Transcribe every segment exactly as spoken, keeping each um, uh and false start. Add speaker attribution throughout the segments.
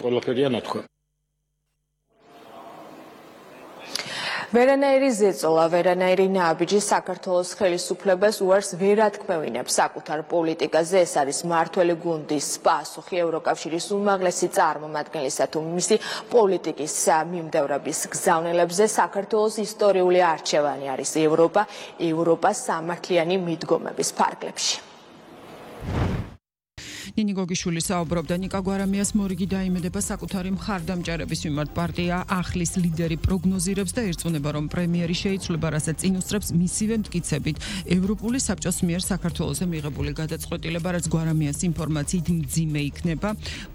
Speaker 1: ყველაფერია ნათქვამი.
Speaker 2: ვერანაირი ზეწოლა, ვერანაირი ნაბიჯი საქართველოს ხელისუფლებას უარს ვერ ათქმევინებს საკუთარ პოლიტიკაზე. ეს არის მმართველი გუნდის პასუხი ევროკავშირის უმაღლესი წარმომადგენლისა თუ მისი პოლიტიკის მიმდევრების გზავნილებზე. საქართველოს ისტორიული არჩევანი არის ევროპა, ევროპას სამართლიანი მიდგომების ფარგლებში.
Speaker 3: ნინი გოგიშვილი საუბრობდა ნიკა გვარამიას მორიგი დაიმედება საკუთარი მხარდამჭერების მიმართ პარტია ახლის ლიდერი პროგნოზირებს და ერწმუნება რომ პრემიერი შეიცვლება რასაც წინ უსწრებს მისივე მტკიცებით ევროპული საბჭოს მიერ საქართველოსზე მიღებული გადაწყვეტილება რაც გვარამიას ინფორმაციით მძიმე იქნება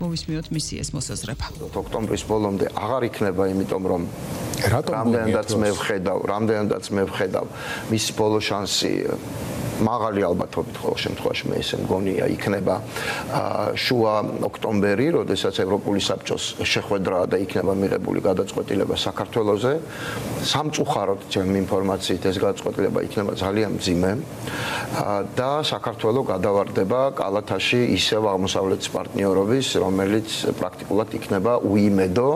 Speaker 3: მოვისმინოთ მისი ეს მოსაზრება
Speaker 4: ოქტომბრის ბოლომდე აღარ იქნება იმიტომ რომ რამდენადაც მე ვხედავ რამდენადაც მე ვხედავ მისი ბოლო შანსი მაღალი ალბათობით ყოველ შემთხვევაში მე ესე მგონია იქნება შუა ოქტომბერი, როდესაც ევროპული საბჭოს შეხვედრა და იქნება მიღებული გადაწყვეტილება საქართველოზე. სამწუხაროდ ჩემი ინფორმაციით ეს გადაწყვეტილება იქნება ძალიან მძიმე და საქართველო გადავარდება კალათაში ისევ აღმოსავლეთის პარტნიორობის, რომელიც პრაქტიკულად იქნება უიმედო.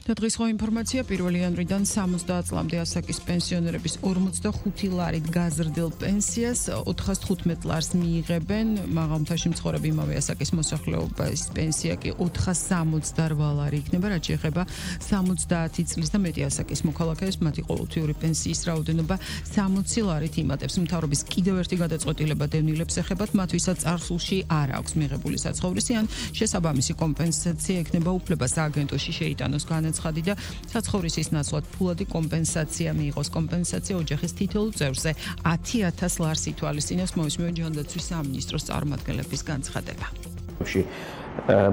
Speaker 3: და დღის ხო ინფორმაცია პირველი იანვრიდან სამოცდაათ წლამდე ასაკის პენსიონერების ორმოცდახუთი ლარით გაზრდილ პენსიას ოთხას თხუთმეტ ლარს მიიღებენ, მაღალმთაში მცხოვრები იმავე ასაკის მოსახლეობის პენსია კი ოთხას სამოცდარვა ლარი იქნება, რაც შეეხება სამოცდაათი წლის და მეტი ასაკის მოქალაქეებს, მათი ყოველთვიური პენსიის რაოდენობა სამოცი ლარით იმატებს. მთავრობის კიდევ ერთი გადაწყვეტილება დევნილებს ეხებათ, მათ ვისაც წარსულში არ აქვს მიღებული საცხოვრისი ან შესაბამისი კომპენსაცია ექნება უფლება სააგენტოში შეიტანოს განაცხადი და საცხოვრისის ნაცვლად ფულადი კომპენსაცია მიიღოს. კომპენსაცია ოჯახის თითოეულ წევრზე ათი ათას ლარს ითვალისწინებს. მოვისმინოთ ჯანდაცვის სამინისტროს წარმომადგენლების განცხადება.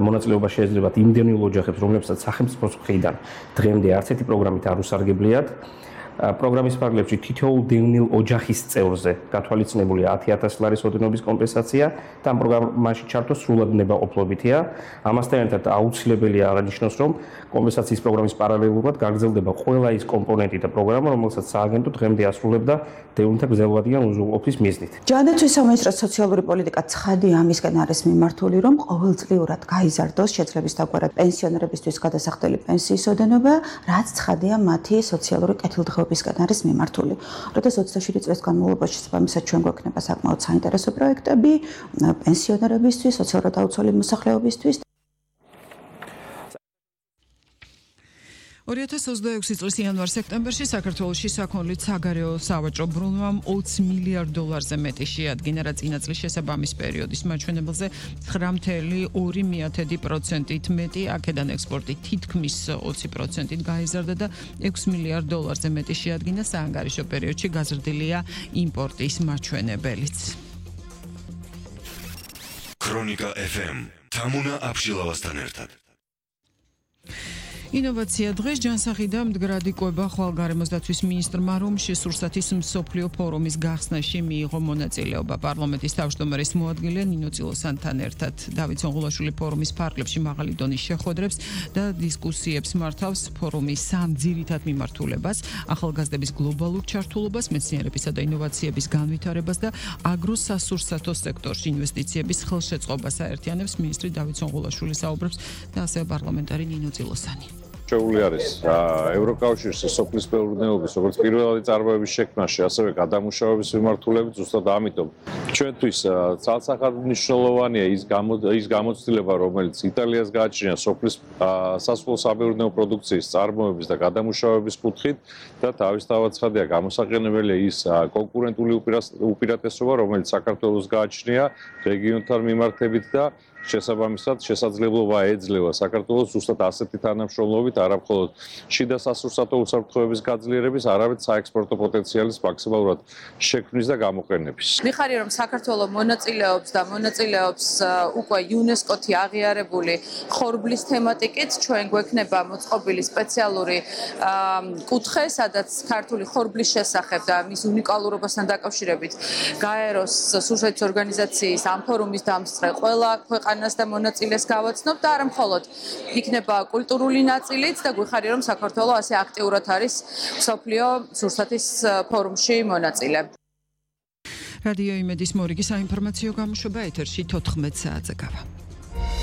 Speaker 5: მონაწილეობა შეეძლებათ იმდენილ ოჯახებს, რომლებსაც სახელმწიფოს მხრიდან დღემდე არც ერთი პროგრამით არ უსარგებლიათ. პროგრამის ფარგლებში თითოეულ დევნილ ოჯახის წევრზე გათვალისწინებულია ათი ათას ლარის ოდენობის კომპენსაცია და ამ პროგრამაში ჩართვა სრულად ნებაყოფლობითია. ამასთან ერთად აუცილებელია აღნიშნოს, რომ კომპენსაციის პროგრამის პარალელურად გაგრძელდება ყველა ის კომპონენტი და პროგრამა, რომელსაც სააგენტო დღემდე ასრულებდა დევნილთა გრძელვადიან უზრუნველყოფის მიზნით.
Speaker 6: ჯანდაცვის სამინისტროს სოციალური პოლიტიკა ცხადი ამისკენ არის მიმართული, რომ ყოველწლიურად გაიზარდოს შეძლების დაგვარად პენსიონერებისთვის გადასახდელი პენსიის ოდენობა, რაც ცხადია მათი სოციალური კეთილდღეობისკენ არის მიმართული. როდესაც ოცდაშვიდი წლის განმავლობაში შესაბამისად ჩვენ გვექნება საკმაოდ საინტერესო პროექტები პენსიონერებისთვის, სოციალურად დაუცველი მოსახლეობისთვის.
Speaker 3: ორი ათას ოცდაექვსი წლის იანვარ-სექტემბერში საქართველოში საქონლით საგარეო სავაჭრო ბრუნვამ ოცი მილიარდ დოლარზე მეტი შეადგინა, რაც წინა წლის შესაბამის პერიოდის მაჩვენებელზე ცხრა მცდე ორი პროცენტით მეტი, აქედან ექსპორტი თითქმის ოცი პროცენტით გაიზარდა და ექვსი მილიარდ დოლარზე მეტი შეადგინა, საანგარიშო პერიოდში გაზრდილია იმპორტის მაჩვენებელიც.
Speaker 7: ქრონიკა ეფ ემ თამუნა აბშილავასთან ერთად.
Speaker 3: ინოვაცია დღეს ჯანსაღი და მდგრადი კვება ხვალგარემოს დაცვის მინისტრმა რომში სურსათის მსოფლიო ფორუმის გახსნაში მიიღო მონაწილეობა. პარლამენტის თავმჯდომარის მოადგილე ნინო წილოსანთან ერთად დავით სონღულაშვილი ფორუმის ფარგლებში მაღალი დონის შეხვედრებს და დისკუსიებს მართავს. ფორუმის სამ ძირითად მიმართულებას, ახალგაზრდების გლობალურ ჩართულობას, მეცნიერებისა და ინოვაციების განვითარებას და აგროსასურსათო სექტორში ინვესტიციების ხელშეწყობას აერთიანებს. მინისტრი დავით სონღულაშვილი საუბრობს და ასევე პარლამენტარი ნინო წილოსანი.
Speaker 8: შეეული არის ევროკავშირის სოფლის მეურნეობის როგორც პირველი წარმოების შექმნაში, ასევე გადამუშავების მიმართულებით, ზუსტად ამიტომ ჩვენთვის ცალსახად მნიშვნელოვანია ის ის გამოცდილება, რომელიც იტალიას გააჩნია სოფლის სასოფლო სამეურნეო პროდუქციის წარმოების და გადამუშავების კუთხით და თავისთავად ცხადია გამოსაყენებელია ის კონკურენტული უპირატესობა, რომელიც საქართველოს გააჩნია რეგიონთან მიმართებით და შესაბამისად შესაძლებლობა ეძლევა საქართველოს ზუსტად ასეთი თანამშრომლობით არა მხოლოდ შიდა სასურსათო უსაფრთხოების გაძლიერების, არამედ საექსპორტო პოტენციალის მაქსიმალურად შექმნის და გამოყენების.
Speaker 9: მიხარია რომ საქართველო მონაწილეობს და მონაწილეობს უკვე იუნესკოთი აღიარებული ხორბლის თემატიკით, ჩვენ გვექნება მოწყობილი სპეციალური კუთხე, სადაც ქართული ხორბლის შესახებ და მის უნიკალურობასთან დაკავშირებით გაეროს სურსათის ორგანიზაციის ამ ფორუმის დამსწრე ყველა ქვეყანა და მონაწილეს გავაცნობ და არა მხოლოდ იქნება კულტურული ნაწილიც და გვიხარია რომ საქართველო ასე აქტიურად არის მსოფლიო სურსათის ფორუმში მონაწილე.
Speaker 3: რადიო იმედის მორიგი საინფორმაციო გამოშვება ეთერში თოთხმეტ საათზე გავა.